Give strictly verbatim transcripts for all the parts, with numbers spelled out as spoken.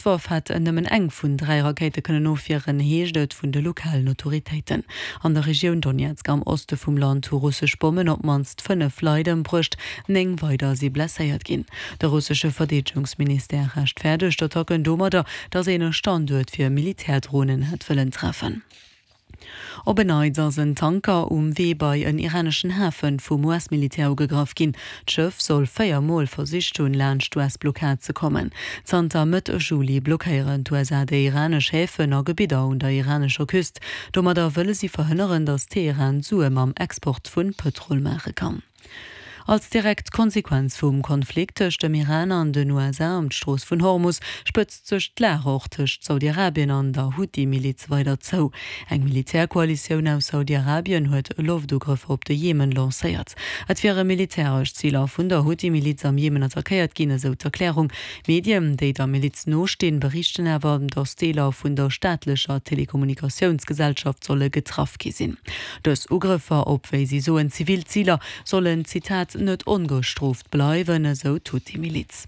D'Loftwaff hätt nëmmen eng vun dräi Rakéite kënnen ofwieren, heescht et vun de lokalen Autoritéiten. An der Regioun Donezk am Oste vum Land hu russesch Bommen op d'mannst fënnef Leit ëmbruecht, néng weider si blesséiert ginn. De russesche Verdeedegungsministère rechtfäerdegt d'Attacken domadder, datt een e Standuert fir Militärdronen hätt wëllen treffen. Op en Neits ass en Tanker um Wee bei en iraneschen Hafe vum US-Militär ugegraff ginn. D'Schëff soll véier Mol versicht hunn, laanscht d'US-Blockad ze kommen. Zanter Mëtt Juli blockéieren d'USA déi iranesch Häfen a Gebidder un der iranescher Küst. Domadder wëlle si verhënneren, datt Teheran Sue mam Export vu Pëtrol maache kann. Als direkt Konsequenz vum Konflikt tëscht dem Iran an den U S A ëm d'Strooss vun Hormus spëtzt sech d'Lag och tëscht Saudi-Arabien an der Huthi-Miliz weider zou. Eng Militärkoalitioun aus Saudi-Arabien huet Loftugrëffer op de Jemen lancéiert. Et wiere militäresch Ziler vun der Huthi-Miliz am Jemen attackéiert ginn, esou d'Erklärung. Medien, déi der Miliz nostinn, berichten awer, datt Deeler vun der staatlecher Telekommunikatiounsgesellschaft solle getraff gi sinn. Dës Ugrëffer op, wéi si soen, zivil Ziler, sollen, Zitat, net ongestrooft bleiwen, esou d'Huthi-Miliz.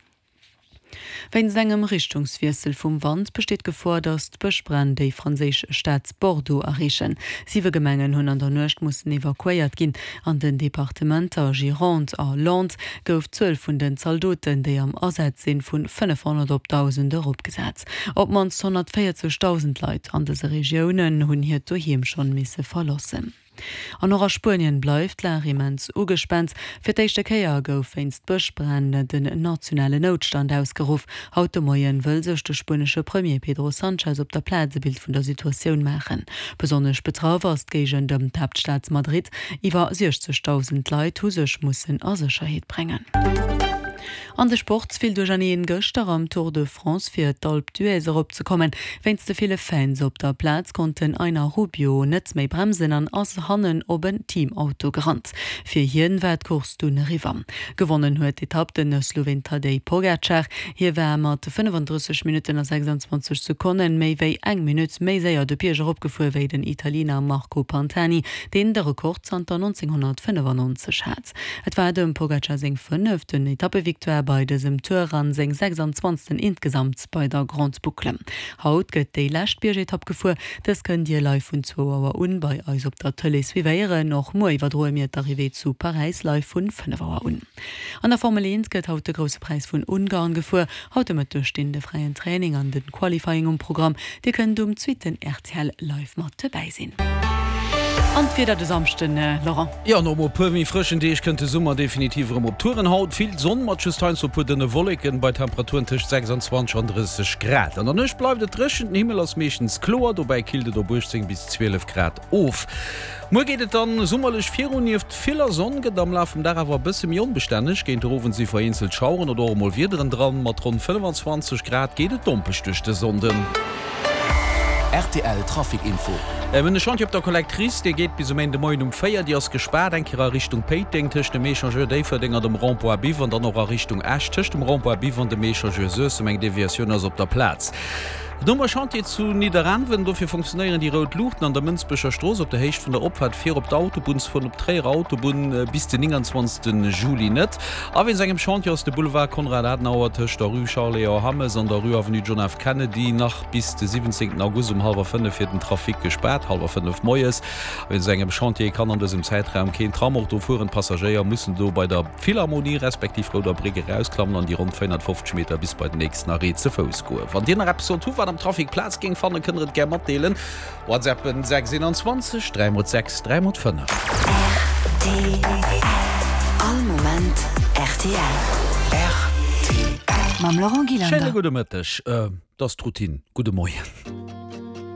Wéinst engem Richtungswiessel vum Wand besteet d'Gefor, datt d'Bëschbränn déi franséisch Stad Bordeaux erreechen. Siwe Gemengen hunn an der Nuecht mussen evakuéiert ginn. An den Departementer Gironde a Landes gouf d'Zuel vun den Zaldoten, déi am Asaz sinn, vu fënnefhonnert op dausend eropgesat. Op d'mannst honnertvéierzegdausend Leit an dëse Regiounen hunn hiert Doheem schonn misse verloossen. An och a Spuenien bleift d'Lag immens ugespaant. Fir d'éischte Kéier gouf wéinst Bëschbränn den nationalen Noutstand ausgeruff. Haut de Moien wëll sech de spuenesche Premier Pedro Sanchez op der Plaz e Bild vun der Situatioun maachen. Besonnesch betraff ass d'Géigend ëm d'Haaptstad Madrid. Iwwer siechzegdausend Leit hu sech mussen a Sécherheet bréngen. An de Sport, Vill Duercherneen gëschter am Tour de France fir d'Alpe d'Huez erop ze kommen. Wéinst de ville Fans op der Plaz konnt den Einer Rubio net méi bremsen an ass hannen op en Teamauto gerannt. Fir hien war d'Course dunn eriwwer. Gewonnen huet d'Etapp den Sloween Tadej Pogacar. Hie war mat fënnefandrësseg Minutten a sechsandzwanzeg Sekonnen méi wéi eng Minutt méi séier de Bierg eropgefuer wéi den Italiener Marco Pantani, deen de Rekord zanter nonzénghonnertfënnefannonzeg hat. Et war dem Pogacar seng fënneften Etappevictoire bei dësem Tour an seng sechsandzwanzegsten insgesamt bei der Grande Boucle. Haut gëtt déi lescht Biergetapp gefuer. Dës kënnt Dir live vun zwou Auer un bei eis op der Tëlee suivéieren. Och muer iwwerdroe mir d'Arrivée zu Paräis live vun fënnef Auer un. An der Formel eent gëtt haut de Grousse Präis vun Ungarn gefuer. Haut de Mëtteg stinn de fräien Training an de Qualifying um Programm. Dir kënnt um zweeten R T L live mat dobäi sinn. An d'Wieder de Samschden, Laurent? Jo, no e puer méi frëschen Deeg kënnt de Summer definitiv erëm op Touren. Haut vill Sonn mat just heiansdo e puer dënne Wolleken, bei Temperaturen tëscht sechsandzwanzeg an drësseg Grad. An der Nuecht bleift et dréchen, den Himmel ass meeschtens kloer, dobäi killt et op uechtzéng bis zwielef Grad of. Muer geet et dann summerlech virun, nieft viller Sonn gëtt et am Laf vum Dag awer e bësse méi onbestänneg. Géint den Owend si vereenzelt Schaueren oder och emol Wiederen dran. Mat ronn fënnefenzwanzeg Grad geet et dompeg duerch de Sonnden. R T L Trafic Info. Mir hunn e Chantier op der Collectrice, dee geet bis um Méinde Moien um véier. Déi ass gespaart, eng Kéier a Richtung Péiteng tëscht dem Echangeur Déifferdeng an dem Rond-point Biwer an dann och a Richtung Esch tëscht dem Rond-point Biwer an dem Echangeur Suessem. Eng Deviatioun ass op der Plaz. Dann hu mer e Chantier zu Nidderaanwen, dofir funktionéieren déi rout Luuchten an der Mënsbecher Strooss op der Héicht vun der Opfaart fir op d'Autobunnsfueren op d'Tréierer Autobunn bis den nénganzwanzegste Juli net. A wéinst engem Chantier ass de Boulevard Konrad Adenauer tëscht der Rue Charles Léon Hammes an der Rue Avenue John F. Kennedy nach bis de siwwenzéngten August um hallwer fënnef fir den Trafic gespaart, hallwer fënnef moies. Wéinst engem Chantier kann an dësem Zäitraum keen Tram och do fueren. D'Passagéier mussen do bei der Philharmonie respektiv Rouder Bréck erausklammen an déi ronn véierhonnertfofzeg Meter bis bei den nächsten Arrêt ze Fouss goen. Wann Dir nach eppes sollt hu wat am Trafic Plaz géing fannen, kënnt der et gär matdeelen. WhatsAppen sechs eenanzwanzeg dräi mol sechs dräi mol fënnef. R T L. All Moment R T L. R T L. Mam Laurent Schéine Gillander. Gudde Mëtteg, et ass d'Routine. Gudde Moien.